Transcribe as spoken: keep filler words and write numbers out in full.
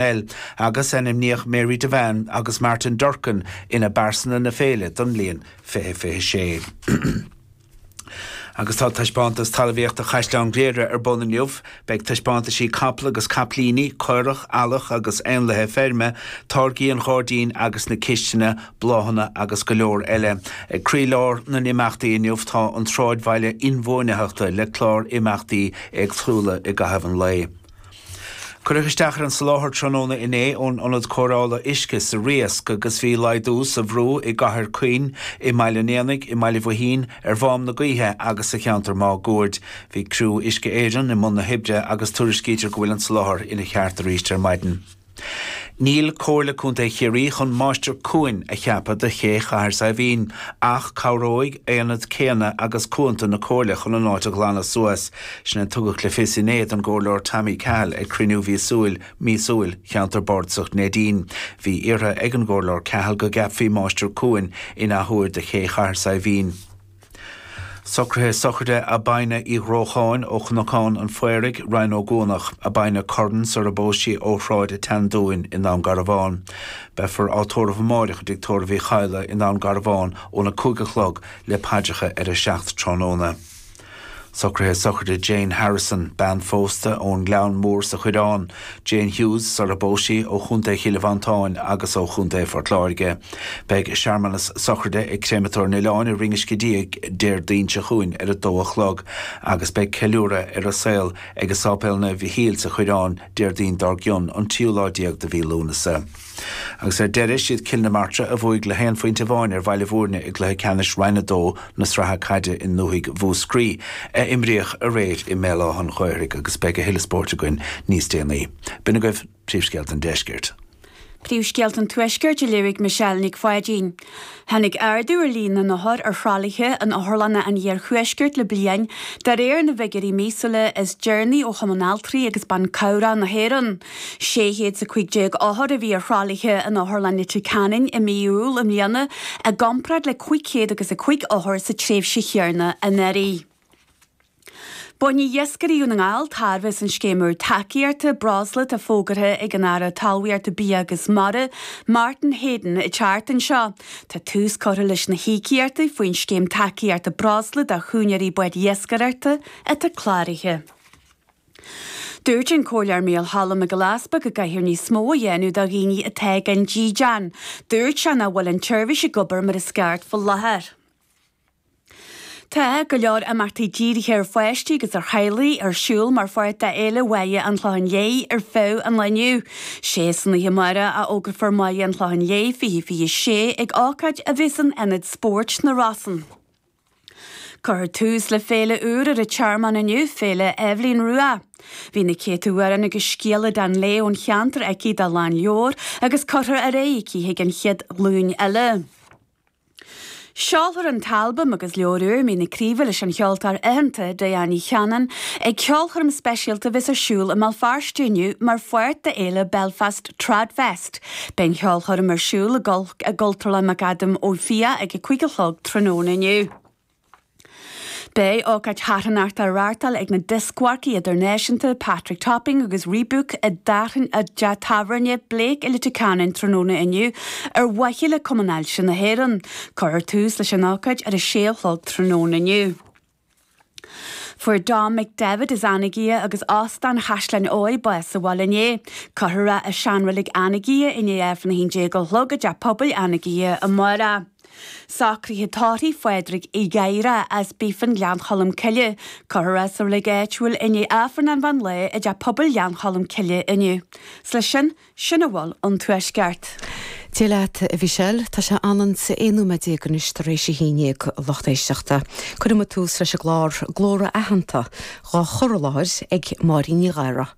Agus ainmníodh Mary Devane agus Martin Durkin ina bpearsana na féile don bhliain fiche fiche sé. Agus tá taispeántas talmhaíochta Chaisleán Ghriaire ar bun inniu, beidh taispeántaisí capall agus capaillíní, caorach, eallach agus éanlaithe feirme, táirgí an ghairdín agus na cistine, bláthanna agus go leor eile. Ag croílár na n-imeachtaí inniu tá an tsráidbhaile inbhuanaitheachta le clár imeachtaí éagsúla i gcaitheamh an lae. Cuireadh isteach ar an soláthar tráthnóna inné ón ionad cóireála uisce sa Riasc agus bhí laghdú sa bhrú i gCathair Chaoin, i mBaile an Éanaigh, i mBaile Bhuithín, ar Mhám na Gaoithe agus sa cheantar máguaird. Bhí criú Uisce Éireann i mbun na hoibre agus tuairiscítear go bhfuil an soláthar ina cheart arís ar maidin. Níl Comhairle Contae Chiarraí chun máistir cuain a cheapadh do ché Chathair Saidhbhín, ach cabhróidh aonad céanna agus cuanta na Comhairle chun an áit a ghlanadh suas. Sin a tugadh le fios inné don gComhairleoir Tommy Cahill ag cruinniú mhíosúil míosúil cheantar Bardasach Neidín. Bhí iarrtha ag an gComhairleoir Cahill go gceapfaí máistir cuain in athuair do ché Chathair Saidhbhín. Socruithe sochraide Abina Uí Ghrócháin ó Chnocán an Phaoraigh, Rinn Ó gCuanach, Abina Curran sar a bpós sí ó Shráid an tSeandúin i nDún Garbhán. Beifear á tórramh amárach i dtigh tórraimh Uí Chadhla i nDún Garbhán óna cúig a chlog le paidreacha ar a seacht tráthnóna. Socruithe sochraide Jane Harrison, bean phósta ón nGleann Mór sa Choireán, Jane Hughes sar a bpós sí ó Chontae Chill Mhantáin agus ó Chontae Phort Láirge. Beidh searmanas sochraide ag Créamatóir an Oileáin i Rinn Uisce Díog Déardaoin seo chugainn ar a dó a chlog agus beidh ceiliúradh ar a saol ag Sáipéal Naomh Mhichíl sa Choireán Déardaoin dár gcionn an tríú lá déag de mhí Lúnasa. Agus ar deireadh siad Cill na Martra a bhuaigh le haon phointe amháin ar Bhaile Bhúirne i gcluiche ceannais Roinn a Dó na Sraithe Caide i ndúthaigh Mhúscraí a imríodh aréir i mBéal Átha an Ghaorthaidh agus beidh a thuilleadh spóirt againn níos déanaí. B'in agaibh príomhscéalta an deiscirt. Príomhscéalta an Tuaiscirt a léifidh Michelle Nic Pháidín. Tháinig ardú ar líon na n-othar ar thralaithe in otharlanna an iarthuaiscirt le bliain, de réir na bhfigiúirí míosúla is deireanaí ó Chumann Altraí agus Ban Cabhrach na hÉireann. Sé chéad is a cúig déag othar a bhí ar thralaithe in Otharlann Leitir Ceanainn i mí Iúil i mbliana, i gcomparáid le cúig chéad agus a cúig othar sa tréimhse chéanna anuraidh. Bainfidh iascairí Dhún na nGall tairbhe as an scéim úr tacaíochta breosla atá fógartha ag an Aire Talmhaíochta, Bia agus Mara, Martin Heydon, an tseachtain seo. Tá tús curtha leis na híocaíochtaí faoin scéim tacaíochta breosla do chúinéirí báid iascaireachta atá cláraithe. Dúirt an Comhairleoir Mícheál Choilm Mac Giolla Easpaig go gcaithfear níos mó a dhéanamh do dhaoine atá gan dídean. Dúirt sé nach bhfuil an tseirbhís ag obair mar is ceart faoi láthair. Tá go leor imeachtaí dírithe ar pháistí agus ar theaghlaigh ar siúl mar pháirt de Fhéile Bhaile an Chlocháin Léith ar feadh an lae inniu. Sé san oíche amárach a fhógrófar Máire an Chlocháin Léith fiche fiche sé ag ócáid a bheas in Ionad Spóirt na Rosann. Cuirfear tús le féile úr ar an Tearmann inniu, Féile Eibhlín Rua. Bhí na céadta amhrán agus scéal den lae ón cheantar aici dá lán leabhar agus curtha ar aghaidh aici chuig an chéad ghlúin eile. Seolfar an t-albam agus leabhar úr Mín na Craoibhe leis an cheoltóir aitheanta Diane Ní Chanainn ag ceolchoirm speisialta a bheas ar siúl i mBéal Feirste inniu mar pháirt d'fhéile Belfast Tradfest. Beidh an cheolchoirm ar siúl i gCultúrlann McAdam Ó Fiaich ag a cúig a chlog tráthnóna inniu. Beidh ócáid charthanachta á reáchtáil ag na dioscmharcaí idirnáisiúnta Patrick Topping agus Rebúk i dteach tábhairne Blake i Leitir Ceanainn tráthnóna inniu ar mhaithe le Cumann Ailse na hÉireann. Cuirfear tús leis an ócáid ar a sé a chlog tráthnóna inniu. Fuair Dom McDevitt as Anagaire agus Óstán Chaisleán Eo bás sa bhaile inné. Cuirfear é i seanreilig Anagaire i ndiaidh Aifreann a haon déag a chlog i dteach pobail Anagaire amárach. Socruithe tórraimh Phádraig Uí Ghadhra as Bífin Ghleann Cholm Cille. Cuirfear é sa reilig áitiúil i ndiaidh Aifreann an mheán lae i dteach pobail Ghleann Cholm Cille inniu. 'S leis sin, sin a bhfuil ón Tuaisceart. Dia leat, a Mhichelle. Tá sé anonn 's aon nóiméad déag anois tar éis a haon déag, a lucht éisteachta. Cuirfidh muid tús leis an gclár Glór Aitheanta, dhá chur i láthair ag Máirín Ní Ghadhra.